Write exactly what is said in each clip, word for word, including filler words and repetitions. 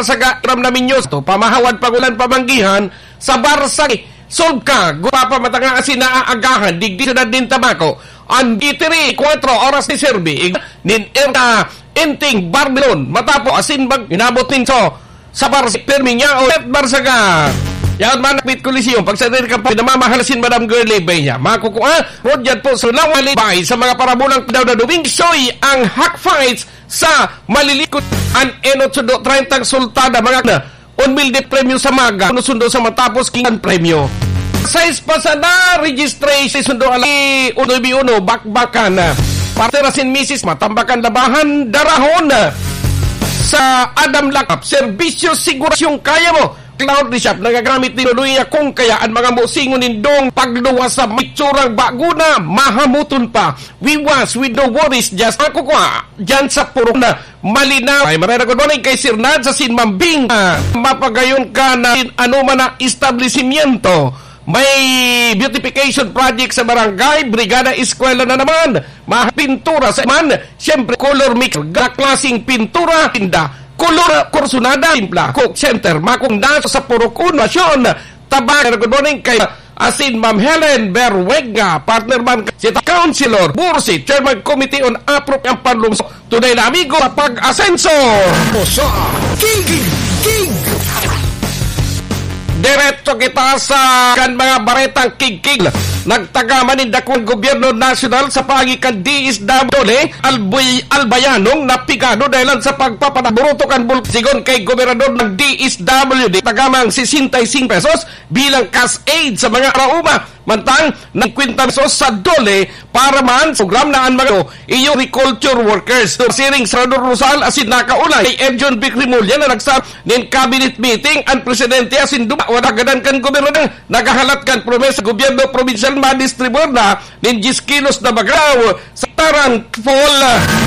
Barsaga, Ram na Minyo, to pamahawad pangulan pamanggihan sa Barsaga, Sulka, Gupapa Matanga asin naaagahan, digdi syudad nin Tabaco. An three, kwatro oras ni Serbi, ig-, nin Erta, Inting, Barbilon, Matapo, asin bag-, inabot nin so, sa Barsi, Permiñao, at Barsaga. Yan man, Pit Coliseum, pag sa diri ka pa, namamahal sin Madam Girlie Benya. Makukua, rodyan po sa Lawali, bay, sa mga parabulang daw na Domingo, soy ang Hack Fights, sa malilikot an enot sundo treinta sultada, mga na, un mil de premyo sa maga, uno sundo sa matapos, king an premyo. Sais pa sana, registration sundo, ali, uno bi uno, bakbakan na. Partner asin misis, matambakan labahan, darahon na. Sa Adam Lakap, serbisyo, sigurasyong kaya mo. Cloud Shop, nagagamit ni Luluya kung kaya an mga musingon nindong pagluwas sa mitsurang bago na, mahamuton pa. We wash with no worries, just makukua dyan sa purok na malinaw. Ay, maray na good morning kay Sir Nad sa Sinmambing. Ah, mapagayon ka na in ano man na establishmento. May beautification project sa barangay, Brigada Eskwela na naman. Mga pintura sa man, siyempre color mix, ga-, klaseng pintura, tinda, color, kursunada, timpla, cook center, makong daso sa purok uno, asyon, Tabaco, good morning kay asin Ma'am Helen Berwega, partner man si Councilor Bursi, Chairman Committee on Appropriate Panlungsod, tunay na amigo sa pag-asenso. O sa King, King, King. Diretso kita sa kan mga baretang kigkig. Nagtagaman nin dakong gobyerno nasyonal sa paagi kan D S W D, Albuy-, Albayanong napigado dahilan sa pagpapanaboroto kan bulk. Sigon kay gobernador ng D S W D, tagamang sesenta y cinco pesos bilang cash aid sa mga arauma. Mantang, nagkwenta pesos sa DOLE para man sa program na an mga iyo agriculture workers. Siring Senador Rosal asin nakaulay kay Edjon Vic Remulla na nagsabi nin cabinet meeting an presidente asin duman wala gadan kan gobernador naghahalat kan promesa gobyerno probinsyal madistribuir na nin diyes kilos na bagaw sa Tarantful.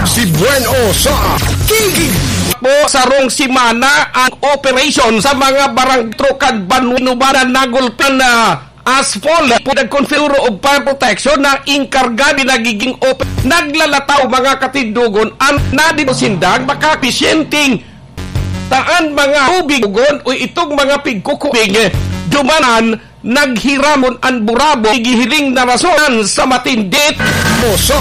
Si Bueno sa Kiki. Po, sarong semana ang operasyon sa mga barangay kan Banwa, Nubanan, nagulpihan na asphalt, pinagkonfiguro og fire protection na inkarga ni nagiging op-, naglalataw mga katindogon an nadito sindang makapisyenteng taan mga tubig ugon o itong mga pigkukubig dumanan naghiramon an burabo, igihiling na rason sa matindit. O sa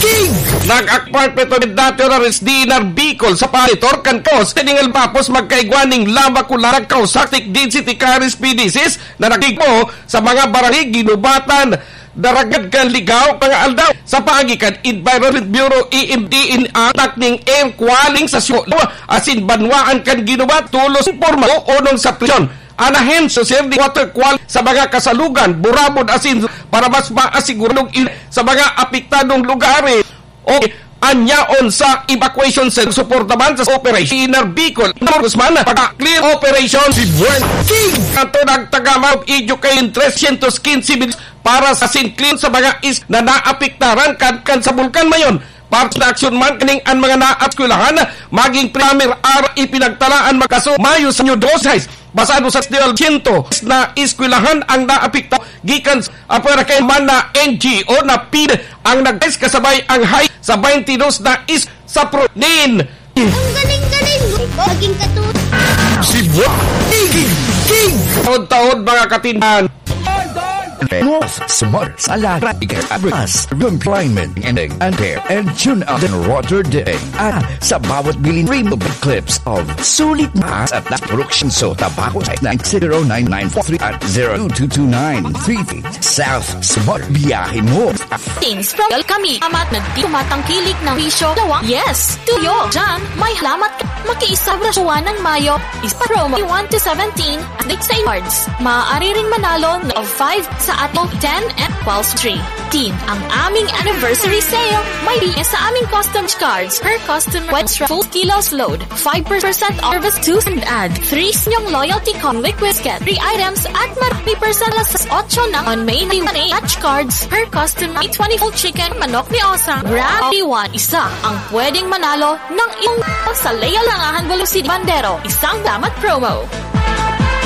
King! Nag-akpar peto dati oras di Narbicol sa palitor kan Kos, Teningal Bapos, magkaigwa ning lama kularag kausak, Tigdin City Caris P D Cs na nagtigpo sa mga barangay Ginubatan, Daragad kan Ligao, mga aldaw. Sa paagi kan Environment Bureau, E M D, in atak ning air quality sa Siolo, asin banwaan kan Ginubat, tulos imporma o onong sa presyon. An ahensya, sir, di water quality sa mga kasalugan, burabod, asin para mas maasiguradong il-, sa mga apektadong lugares. O anyaon sa evacuation center, suporta man sa operation Inner Bicol, Guzman, pagka-clear operation. Si Buen King. Ato nagtagama og education trescientos quince mil para sa sinclean sa mga is na naapektaran kan, kan sa Bulkan Mayon. Parte na aksyon man kaning an mga naap eskwelahan, maging primer ar ipinagtalaan magkaso Mayo sa New Dos Hais. Basado sa Festival, siyento na eskwelahan ang naapekto gikan sa apwera kay man na N G O na pid ang nag-, kasabay ang high sa twenty-dos na is sa pro-, nin. Ang galing-galing mo, maging katulad. Si Wa-, King, King. Taon-taon, mga katindahan. Smart sa lahat. Employment and, and care and tune out and Rotterdam. Ah, sa bawat bilhin, free mobile clips of sulit mas at production so Tabaco nine zero nine nine four three at zero two two nine three three. South Smart, biyahe mo. Teams from Welcome Kami. Amat nagdi tumatangkilik ng bisyo. Lawang. Yes. Tuyo. Diyan. May halamat ka. Makiisang rasyon ng mayo. Isa promo one to seventeen. Update sa cards. Maaari ring manalo ng five sa ating ten and twelve three. Team, ang aming anniversary sale. May B S sa aming custom cards per customer. Extra full kilos load. Five percent off service to and add. Three sa inyong loyalty con liquid scan. Three items at marami percent alas otso ng on May na yung touch cards per customer. May twenty full chicken, manok ni Osang. Grabe one. Isa ang pwedeng manalo ng iyong sa Leo Langahan Bulusi Bandero. Isang damat promo.